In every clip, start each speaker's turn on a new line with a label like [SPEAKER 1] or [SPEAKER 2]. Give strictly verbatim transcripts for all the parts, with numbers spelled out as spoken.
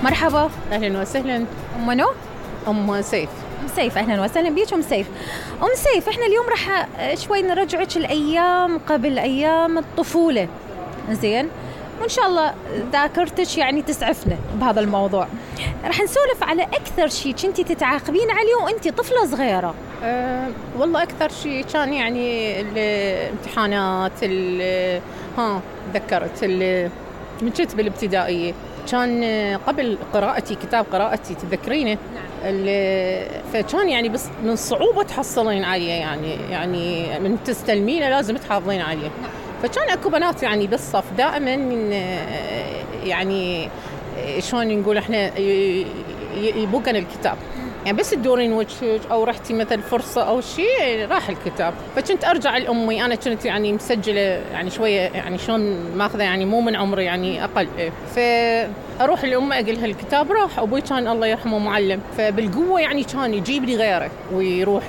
[SPEAKER 1] مرحبا.
[SPEAKER 2] أهلا وسهلا.
[SPEAKER 1] أم منو؟
[SPEAKER 2] أم سيف.
[SPEAKER 1] أم سيف، أهلا وسهلا بيك أم سيف. أم سيف، إحنا اليوم راح شوي نرجعك الأيام قبل أيام الطفولة، زين؟ وإن شاء الله ذاكرتك يعني تسعفنا بهذا الموضوع. راح نسولف على أكثر شيء كنتي تتعاقبين عليه وأنتي طفلة صغيرة.
[SPEAKER 2] أه والله أكثر شيء كان يعني الامتحانات، ها تذكرت من كنت بالابتدائية كان قبل قراءتي كتاب قراءتي تذكرينه؟ نعم. فكان يعني بس من صعوبة تحصلين عليه، يعني يعني من تستلمينه لازم تحافظين عليه. نعم. فكان اكو بنات يعني بالصف دائما يعني شلون نقول احنا يبوقن الكتاب، يعني بس تدورين وجهك او رحتي مثل فرصه او شيء راح الكتاب. فكنت ارجع لامي، انا كنت يعني مسجله يعني شويه يعني شلون ماخذه يعني مو من عمري يعني اقل، فاروح لامي اقول لها الكتاب راح. ابوي كان الله يرحمه معلم، فبالقوه يعني كان يجيب لي غيره ويروح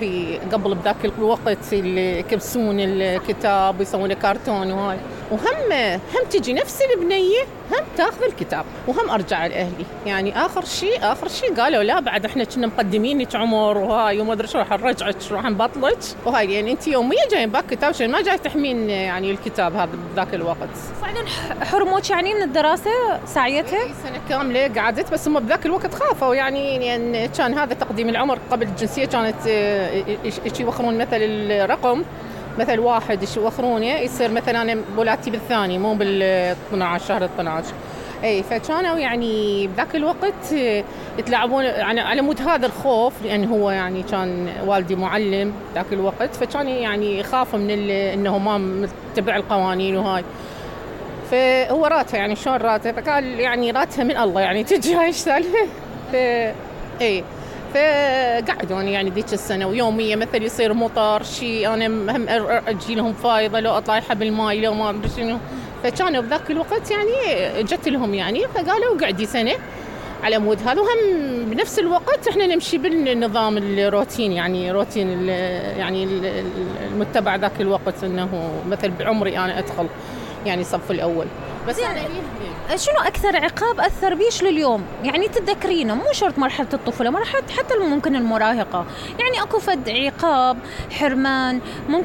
[SPEAKER 2] قبل بذاك الوقت اللي يكبسون الكتاب ويسوون كرتون وهاي، وهم هم تجي نفس البنيه هم تاخذ الكتاب وهم ارجع لاهلي. يعني اخر شيء اخر شيء قالوا لا بعد احنا كنا مقدمينك عمر وهاي وما ادري شو راح نرجعك راح نبطلك وهاي، يعني انت يوميا جايين باك كتاب شيء ما جاي تحمين يعني الكتاب هذا بذاك الوقت.
[SPEAKER 1] فعلا حرموك يعني من الدراسه ساعتها؟
[SPEAKER 2] سنه كامله قعدت، بس هم بذاك الوقت خافوا يعني يعني كان هذا تقديم العمر قبل الجنسيه، كانت يوخرون مثل الرقم مثل واحد يوخرونه يصير مثلا انا ولادتي بالثاني مو بال اثني عشر شهر اثني عشر. اي فكانوا يعني بذاك الوقت يتلاعبون يعني على مود هذا الخوف، لان هو يعني كان والدي معلم ذاك الوقت، فكان يعني يخاف من انه ما متبع القوانين وهاي. فهو راتها يعني شلون راتها، فقال يعني راتها من الله يعني تجي هاي السالفه. ف اي فقعدوني يعني ذيك السنة ويومية مثل يصير مطر شيء أنا هم أجي لهم فايضة لو أطلع حب الماي لو ما أدري شنو. فكانوا بذاك الوقت يعني جت لهم يعني فقالوا قعدي سنة على مود هذا، وهم بنفس الوقت احنا نمشي بالنظام الروتين يعني روتين يعني المتبع ذاك الوقت، انه مثل بعمري انا ادخل يعني صف الاول.
[SPEAKER 1] بس يعني شنو أكثر عقاب أثر بيش لليوم يعني تتذكرينه؟ مو شرط مرحلة الطفولة، مرحلة حتى ممكن المراهقة، يعني أكو فد عقاب حرمان ممكن